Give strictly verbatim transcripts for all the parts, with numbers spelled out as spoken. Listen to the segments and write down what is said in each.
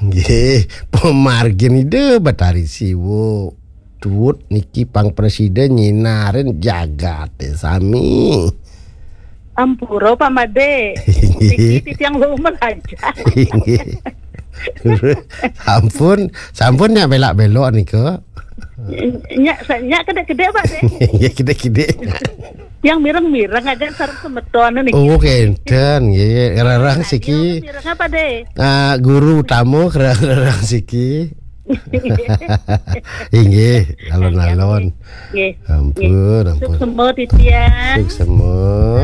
Nggih, pamargin Ida Betari Siwa. Tuwut niki pang presiden nyinarin jagate sami. Ampura, Pak Made. Niki titiang wau meraja. Inggih. Sampun, sampun nyak belak-belok nika. Nyak, sa-, nyak kedek-kedek, Pak, deh. Nggih, kedek-kedek. Yang mireng-mireng aja sareng semeton niki. Oh, kenten, nggih. Rerang siki. Mireng apa, deh? Ah, guru utama, rerang siki. Inggih, alon-alon. Nggih. Ampun, ampun. Suksema titiang. Suksema.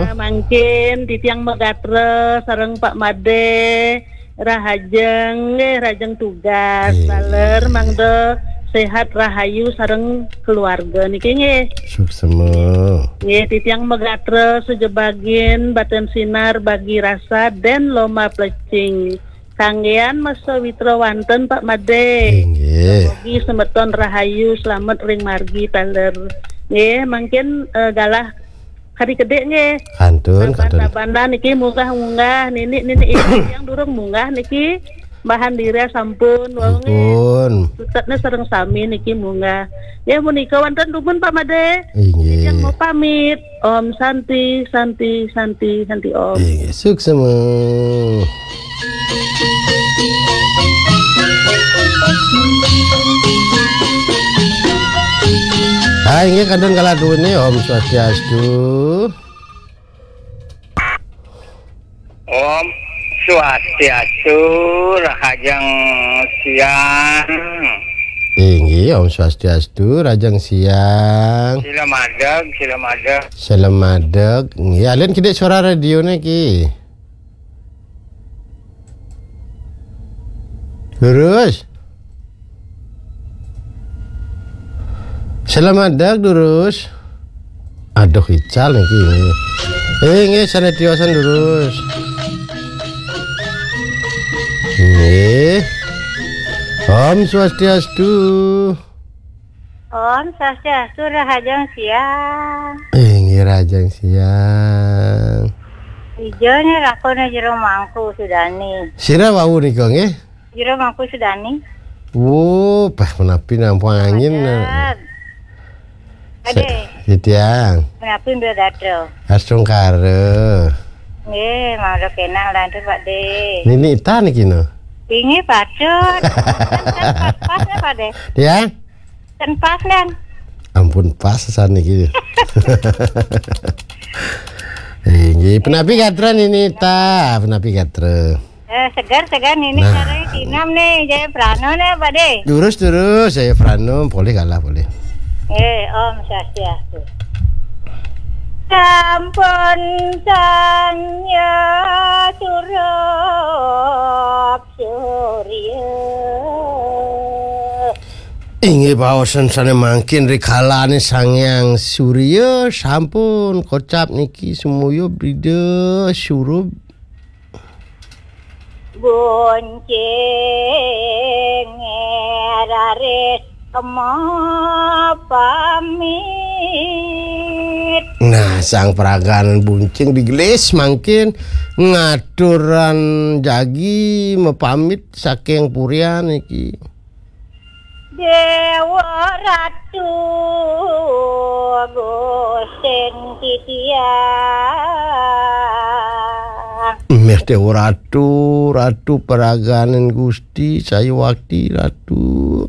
Nah, mangkin titiang magatra sareng Pak Made, rahajeng, nggih, rahajeng tugas. Nggih. Taler mangda sehat rahayu sareng keluarga niki, nggih. Suksema. Nggih, titiang magatra sujebagin batin sinar bagi rasa den loma plecing. Kanggean masa witra wanten, Pak Made. Inggih. Mugi semeton rahayu, slamet ring margi taler. Nggih, mangkin, eh, galah kadi kedek nggih. Kantun, kantun. Saban-sabanan niki munggah-munggah, nini-nini yang durung munggah niki. Mbah Andira sampun, wau nggih. Ampun. Sutetne sareng sami niki munggah. Nggih, punika wonten dumun, Pak Made. Inggih. Yang mau pamit. Om Santi, Santi, Santi, Santi Om. Inggih, suksema. Ah, inggih kantun kala duwene, Om Swastiastu. Om Swastiastu, rahajeng siang. Inggih, Om Swastiastu, rahajeng siang. Sila madeg, sila madeg. Sila madeg. Nggih, alin kidik suara radione ki. Lurus. Sila madeg, Durus. Aduh, ical niki. Eh, nggih, sane tiosan, Durus. Nggih. Om Swastiastu. Om Swastiastu, rahajeng siang. Eh, nggih, rahajeng siang. Ijone lakone Jero Mangku Sudani. Sira wau nika, nggih? Jero Mangku Sudani. Wo, pah menapi nampung angin. Padet. Sa-, Ade. Titiang. Menapi Mbak Gatra. Astungkara. Nggih, mangga kenak lantur, Pak De. Nini Ita niki no. Inggih, patut. Kan pas, pas, ya, Pak De. Ya? Kan pas, kan? Ampun, pas saniki. Inggih, penapi gatra Nini Ita, penapi gatra. Eh, segar, segar, Nini. Nah. Caranya kinam nih, Jaya Prano nih, Pak De. Durus, durus, Jaya Prano, boleh kalah, boleh. Eh, Om Swastiastu. Sampun sanya surup surya. Inggih, baosan sane mangkin rikalane Sang Hyang Surya sampun kocap niki semuyub rida surup. Buncing raris kema pamit. Nah, sang peraganan buncing digelis mangkin ngaturan jagi mepamit saking purian iki. Dewa Ratu Gustin titiang. Meh Dewa Ratu, Ratu peraganen Gusti, saya wakti Ratu.